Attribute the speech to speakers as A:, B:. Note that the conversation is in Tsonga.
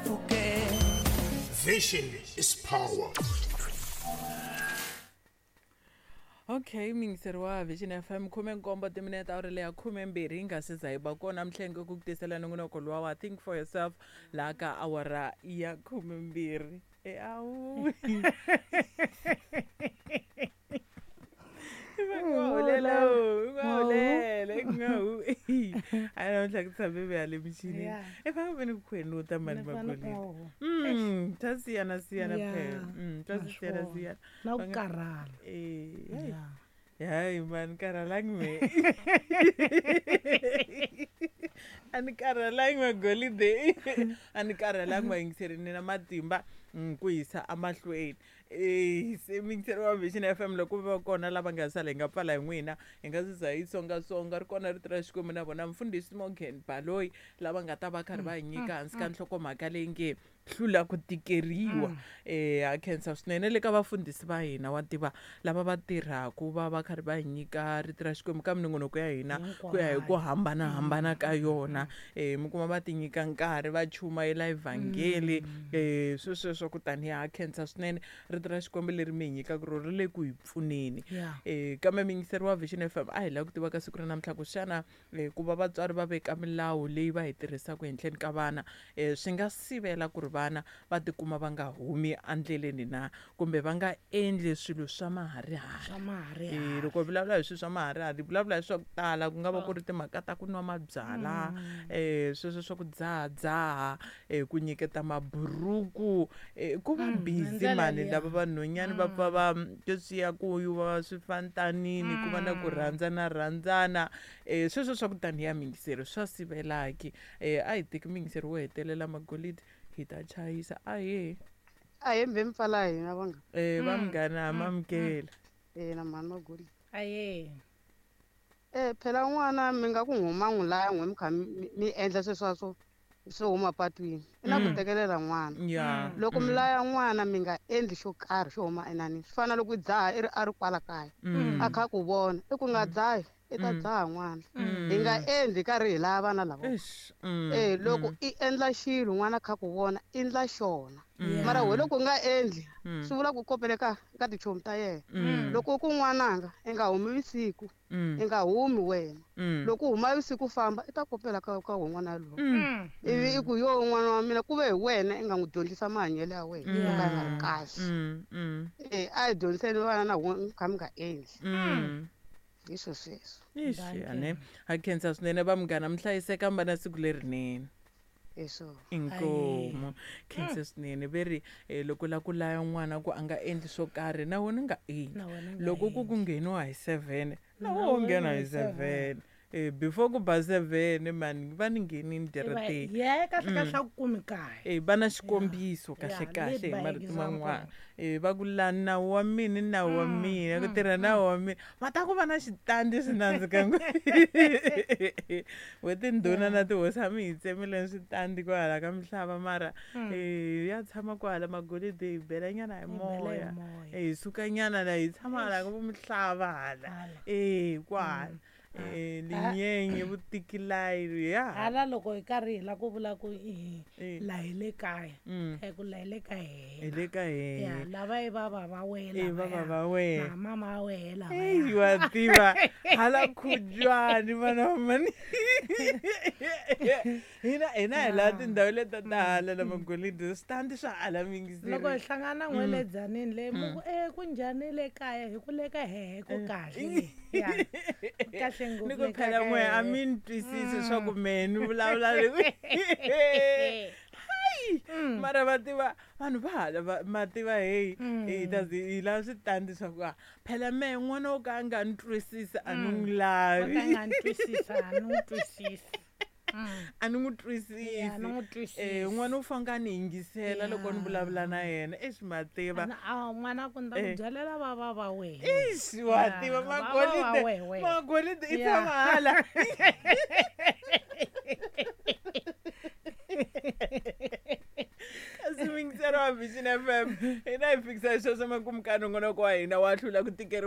A: pfukela.
B: Vision is power.
C: Okay, miyingiseri wa Vision FM, 17 timinete awuri leya 12 yi nga se za yi ba kona mhlenge ku ku tisela nongonoko luwa wa Think for Yourself laha ka awara ya 12. E awu. A namuntlha ku tshame ve le michinini. I fanele ve ni ku khwenuta mani magolini. Ta siyana siyana phela. Ta siyana siyana.
D: Na ku karhala.
C: Eh. Hayi mani, karhalangi me. A ni karhalangi magolide. A ni karhalangi vayingiseri, ni na matimba ku yisa emahlweni. Se miyingiseri wa Vision FM, loko va kona lava nga sala hi nga pfala hi n'wina, hi nga se za hi songasonga ri kona rito ra Xikwembu na vona mfundhisi Morgan Baloyi lava nga ta va karhi va hi nyika hansi ka nhlokomhaka leyi nge hlula ku tikeriwa. Ha khensa swinene le ka vafundhisi va hina wa tiva lava va tirhaku va va karhi va hi nyika rito ra Xikwembu ka minongonoko ya hina ku ya hi ku hambanahambana ka yona. Mi kuma va ti nyika nkarhi va chumayela evhangeli, swo sweswo. Kutani ha khensa swinene rito ra Xikwembu leri mi hi nyikaka rona ri le ku hi pfuneni. Kambe miyingiseri wa Vision FM, a hi lava ku tiva ka siku ra namuntlha ku xana ku va vatswari va veka milawu leyi va yi tirhisaka henhleni ka vana, swi nga sivela ku ri vana va tikuma va nga humi endleleni na kumbe va nga endli swilo swa maharihari.
D: Swa maharihari.
C: Loko hi vulavula hi swilo swa maharihari, hi vulavula hi swa ku tala, ku nga va ku ri timhaka ta ku nwa mabyalwa, sweswo swa ku dzahadzaha, ku nyiketa maburuku, ku va busy mani lava vanhwanyani va pfa va leswiya ku yiva swifantanini, ku va na ku rhandzana rhandzana, sweswo swa ku taniya miyingiseri swa sivelaki. A hi teki miyingiseri wo hetelela magolidi hi ta chayisa. Ahee.
E: Ahee, mbe mpfala hina vanga.
C: Va munghana mamukela.
E: Na mhani Magolidi.
D: Ahee.
E: Phela n'wana mi nga ku huma n'wi laya n'we mi kha mi endla sweswo swo huma patwini. I na ku tekelela n'wana. Loko mi laya n'wana mi nga endli xo karhi xo huma enanini. Swi fana loko dzaha i ri a ri kwala kaya. A kha ku vona, i ku nga dzahi, i ta dzaha n'wana. Hi nga endli karhi hi laya vana lava. Loko i endla xilo n'wana kha ku vona, endla xona. Mara we loko u nga endli, swi vula ku kopele ka tichomi ta yena. Loko ku n'wananga i nga humi vusiku, i nga humi wena. Loko u huma vusiku famba, i ta kopela ka n'wana loyi. Ivi i ku yo n'wana wa mina ku ve hi wena i nga n'wi dyondzisa mahanyelo ya wena yo ka ya nga ri kahle. A hi dyondziseni vana na kha mi nga endli. Hi swo sweswo.
C: Ixi, ha khensa swinene va munghana, mi hlayiseka mi va na siku lerinene. Inkomu. Khensa swinene ve ri loko la ku laya n'wana ku a nga endli swo karhi na wena u nga endli. Loko ku ngheniwa hi 7 na wena u nghena hi 7. Before ku ba 7 mani va ni nghenini direteni.
D: Yeah, kahle kahle a ku kumi kahle.
C: Va na xikombiso kahle kahle hi marito man'wana. Va ku la nawu wa mina nawu wa mina ku tirha nawu wa mina. Va ta ku va na xitandi swi nandzika ngopfu. We tindhuna na tihosi a mi hi tsemile switandi kwala ka mihlava mara ya tshama kwala magolidi hi bela nyana hi moya. Hi suka nyana la hi tshama hala ka mihlava hala. Kwala. Linyenye vutikilayi ya.
D: Hala loko hi karhi hi la ku vula ku la hi le kaya. Ku la hi le ka hina.
C: Hi le ka hina.
D: Ya, lava i va va va wena.
C: I va va va wena.
D: Na mama wa wena lava.
C: Wa tiva. Hala khujwani vana mani. Hina hi la tindhawu leti ta hala la magolidi switandi swa hala mingiseri.
D: Loko hi hlangana n'weledzanini le mu ku ku njhani le kaya hi ku le ka hehe ku kahle. Ya. Kahle ngopfu.
C: Ni ku phela n'we a mi ni twisisi swa ku mehe ni vulavula le. Hayi. Mara va tiva vanhu va hala ma tiva hey hi ta hi lava switandi swa ku phela mehe n'wana wo ka a nga ni twisisi a ni n'wi lavi.
D: Wo ka a nga ni twisisi a ni n'wi twisisi.
C: A ni n'wi twisisi. N'wana u fanele a ni yingisela loko ni vulavula na yena. Exi ma tiva.
D: N'wana ku ni ta ku byalela va va va wena.
C: Exi wa tiva magolide. Magolide i tshama hala. Kasi miyingiseri wa Vision FM, hina hi fikisa hi sweswo makumu ka nongonoko wa hina wa hlula ku tikeriwa.